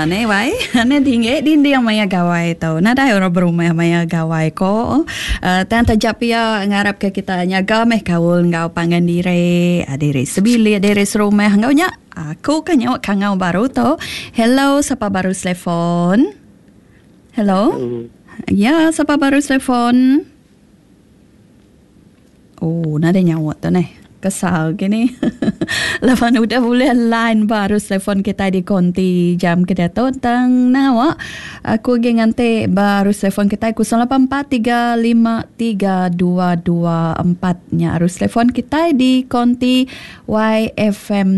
ne wai. Ne tinggi dinding maya gawai tu. Nadai orang berumah maya gawai ko. Uh, tang taja pia ngarap ke kita nyaga meh kaul enggau pangan diri, ah, diri sebilik, diri serumah enggau nya. Aku ke nyawa kangau baru tu. Hello, sapa baru telefon? Hello. Ya, sapa baru telefon? Oh, nadai nyaut tu neh. Kesal gini. Laban udah bulih line ba arus telefon kitai di konti jam ke diatu tang nawa aku agi nganti ba arus telefon kitai 08435324 nya arus telefon kitai di konti YFM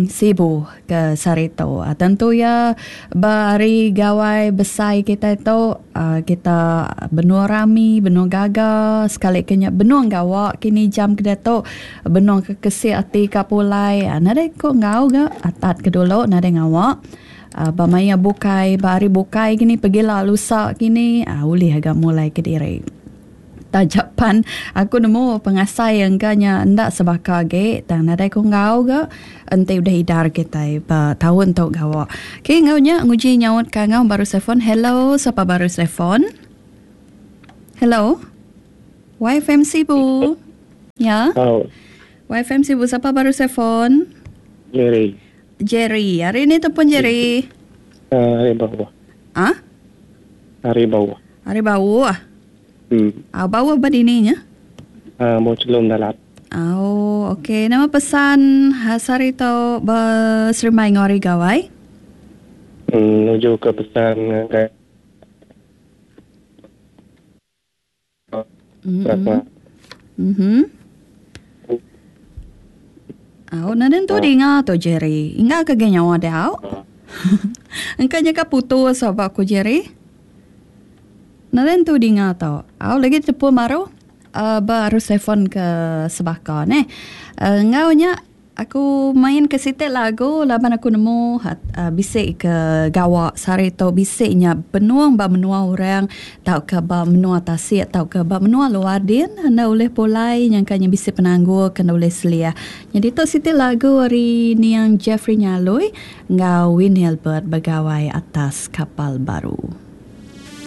Sibu ke sehari tu. Tentu iya ba hari gawai besai kitai tu kita benung rami, benung gaga sekali ke nya benung gawa kini jam ke diatu benung ke kesik ati ka pulai nadai ku enggau ga atat ke dulu nadai ngawa. Ba maya bukai ba hari bukai kini pegila lusa kini ulih ga mulai kediri. Taja pan aku nemu pengasai engka nya enda sebaka agi tang nadai ku enggau ga enti udah idar kitai ba taun tu gawa. Okey enggau nya nguji nyaut ka enggau baru telefon. Hello sapa baru telefon? Hello. YFM Sibu. Ya. Oh. YFM Sibu sapa baru telefon? Jerry. Jerry. Hari ni telefon Jerry. Uh, hari bawah. Ah? Hari bawah. Hari bawah. Hmm. Au bauh ba dini nya? Uh, mau celum dalat. Au, okey. Nama pesan sehari tu beserimbai enggau hari gawai? Hmm, nuju ke pesan ngagai Mm-hmm. Mm-hmm. Au, nadai entu dinga tu Jerry. Inga ke agi nyawa dia au. Engka nya ka putus ba ku Jerry. Nadai entu dinga tu. Au lagi tepu baru uh, ba arus telefon ke sebaka neh. Uh, enggau nya aku main ke siti lagu laban aku nemu uh, bisi ke gawa sehari tu bisi nya benung ba menua orang tauka ba menua tasik tauka ba menua luar din enda ulih pulai nyangka nya bisi penanggul ke enda ulih seliah. Nyadi tu siti lagu ari niang Jeffrey Nyaloi enggau Winnie Albert begawai atas kapal baru.